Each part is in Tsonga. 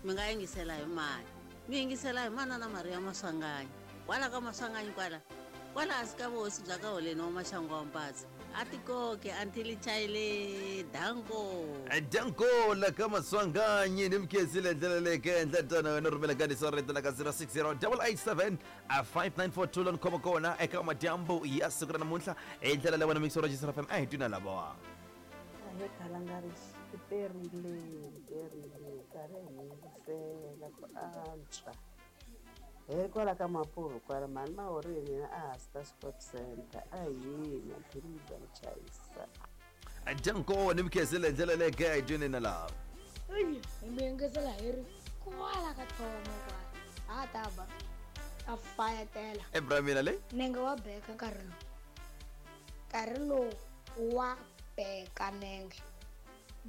Mi nga yingisela hi mani? Mi yingisela hi manana Maria Maswanganyi. Kwala ka Maswanganyi kwala, kwala hansi ka vuhosi bya ka Holeni wa Maxangu wa Mpatsa. A ti koke until chayile. Danko. Danko la ka Maswanganyi ni mikhensile ndlela leyi ka endla tano wena rhumela kandiso rito la ka 060 887 5942 lani khoma kona eka madyambu ya siku ra namuntlha hi ndlela leyi wena mixo ra Jisra FM a hi twina lavawa. Ahe khalanga ri perile perile karhi hi yingisela ku antswa hi ri kwala ka mapurhu kwala mhani mahorini hina a hansi ka sport center a hina phiriza chayisa. Danko ni mikhensile ndlela leyi ka hi twini na lava. Hi mi yingisela hi ri kwala ka thomo kwala a ta ba a fayetela. Ebra mina leyi. Nenge wa beka nkarhi lowu, nkarhi lowu wa beka nenge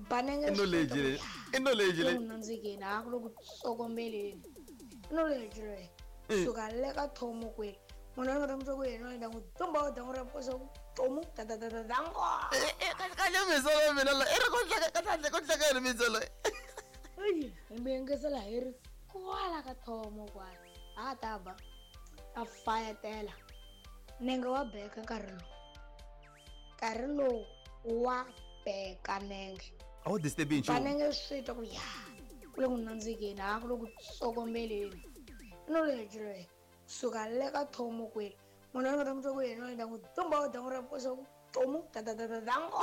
ba nenge. I knowledge leyi, i knowledge leyi. Ku nandzikeni a ku le ku tsokombeleni, i knowledge leyi. Suka le ka thomo kwele munhu a ni nga ta n'wi twa ku yena ni ta n'wi tumba wa dangu ra kosa ku tomu ta ta ta ta dango. Kahle misolo mina la i ri ku hleka kahle ku hleka yini misolo. Hi mi yingisela hi ri kwala ka thomo kwala a ta ba a fayetela nenge wa beka nkarhi lowu, nkarhi lowu wa beka nenge. A wu disturbi ba nchumu. Nenge swi twa ku ya ku le ku nandzikeni a ku le ku tsokombeleni, i knowledge leyi. Suka le ka thomo kwele munhu a ni nga ta n'wi twa ku yena ni ta n'wi tumba wa dangu ra kosa ku tomu ta ta ta ta dango.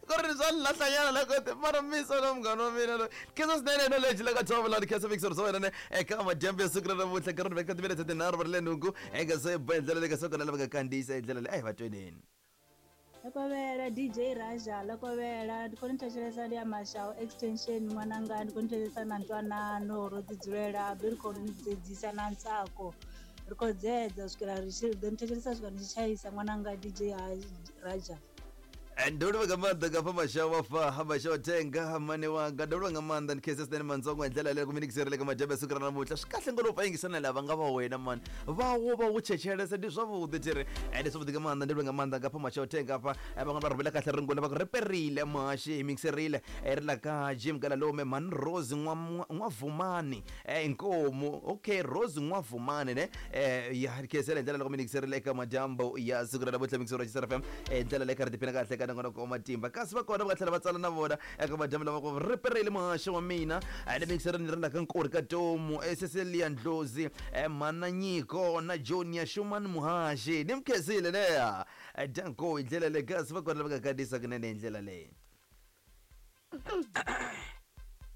Ku ri swa ni lahlanyana loko te mara miso na munghana wa mina loyi khensa swinene knowledge la ka thomo lani khensa mixer swa wena ne eka madyambu ya siku ra namuntlha nkarhi ni veka timinete tinharhu va ri le nhungu eka se ba hi ndlela leyi ka swa kona lava nga kandziyisa hi ndlela leyi a hi va tweneni. Lokovela DJ Raja, lokovela ndi khou ni thetshelesa ndi ya Mashau extension ṅwananga, ndi khou ni thetshelesa na ntwanano ro ḓi dzulela be ri khou ni dzedzisa na ntsako ri khou dzedza swikela ri tshi ḓo ni thetshelesa swika ni tshi tshaisa ṅwananga DJ Raja. Ndo livha nga maanḓa nga fha mashawa fa mashawa tenga mane wanga ndo livha nga maanḓa ni khese swinene mantsongo hi ndlela leyi ku mi nikiserile ka madyambu ya siku ra namuntlha swi kahle ngopfu a yingisana lava nga va wena mani va wo va wu chechelesa ndi zwavhuḓi thiri ndi zwavhuḓi nga maanḓa ndi livha nga maanḓa nga fha mashawa tenga afha van'wana va rhumela kahle ringula va ku ri perile muhaxi hi mikiserile ri la ka Jim Galalome mhani Rose N'wavumani inkomu okay Rose N'wavumani ne ya khesela hi ndlela loko mi nikiserile eka madyambu ya siku ra namuntlha mikisero ya FM hi ndlela leyi karhi tiphina kahle ka nongonoko wa matimba kasi va kona va nga tlhela va tsala na vona eka madyambu lama ku ri perile muhaxi wa mina le mikisereni ri la ka nkori ka tomu Cecilia Ndlozi mhana Nyiko na Junior Shumani muhaxi ni mi khensile leya danko hi ndlela leyi kasi va kona lava nga kandziyisa kunene hi ndlela leyi.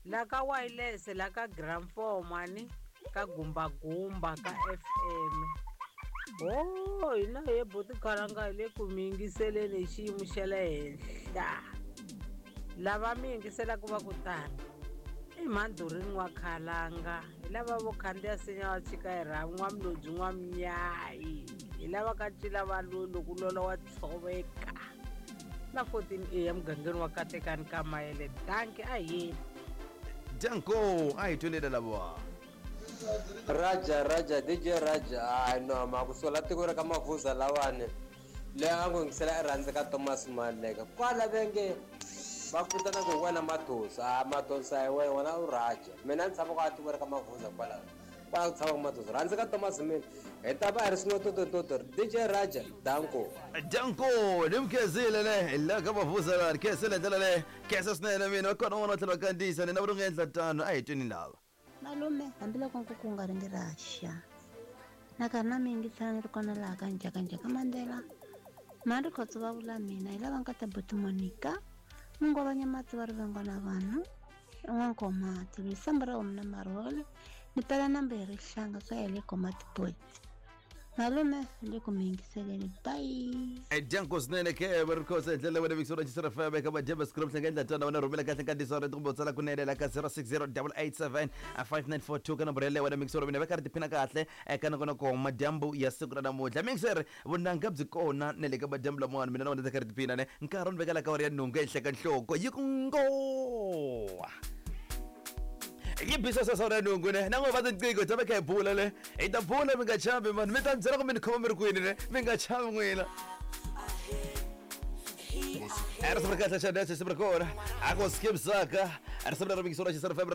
La ka wireless la ka gram 4 mani ka gumbagumba ka FM ho hina he buti khalanga hi le ku mi yingiseleni hi xiyimo xa le henhla lava mi yingiselaka va ku tani i mhandhurini wa khalanga hi lava vo khandziya sinya wa chika hi rhavi n'wamlodzi n'wamnyayi hi lava ka cila va loyi loko lola wa tshoveka na 14 a emugangeni wa katekani ka mayele danki a yeni. Danko a hi twelele lava. Raja Raja DJ Raja hayi no ma ku sola tiko ra ka Mavuza lawani leyi a ngo yingisela i rhandza ka Thomas Maleka kwala venge va ku vitana ku hi wena Mathosa a Mathosa hi wena wena u Raja mina ni tshama kwa tiko ra ka Mavuza kwala kwala ku tshamaka Mathosa rhandza ka Thomas mina hi ta va hi ri swin'we totototo DJ Raja danko. Danko ni mi khensile ne la ka Mavuza lani khensile ndlela leyi khensa swinene mina va kona van'wana va tlhela va kandziyisa ni na va nga endla tano a hi tweni lava. Malume hambiloko nkuku wu nga ringi ra xa na karhi na mi yingisela ni ri kona laha ka njhakanjhaka Mandela mhani Rikhotso va vula mina hi lava nkata buti Monica Mungwavanya mati va rivengwa na vanhu n'wankomati lisamba ra homu na marhole ni pela nambu hi rihlanga swa ya le komati boys malume le ku mi yingiseleni bye. Danko swinene ke va ri khosa hi ndlela wena vikisora xisera FM eka madyambu siku ra endla tano wena rhumela kahle nkandziyiso wa kumbe u tsala kunene la ka 060 887 5942 ka nomboro yaleyo wena mikisoro mina va karhi tiphina kahle eka nongonoko madyambu ya siku ra namuntlha mixer vunanga byi kona na le ka madyambu lamawani mina na wena ta karhi tiphina ne nkarhi ni vekela ka awara ya nhungu ehenhla ka nhloko yi ku ngo yi bisa sasa ra nhungu ne na n'we va tinqingho ta va kha hi bula le hi ta bula mi nga chavi mani mi ta ni byela ku mi ni khoma mi ri kwini ne mi nga chavi n'wina risimu ri kahle xa dance risimu ri kona a ku skip saka risimu leri mikisora xisera FM.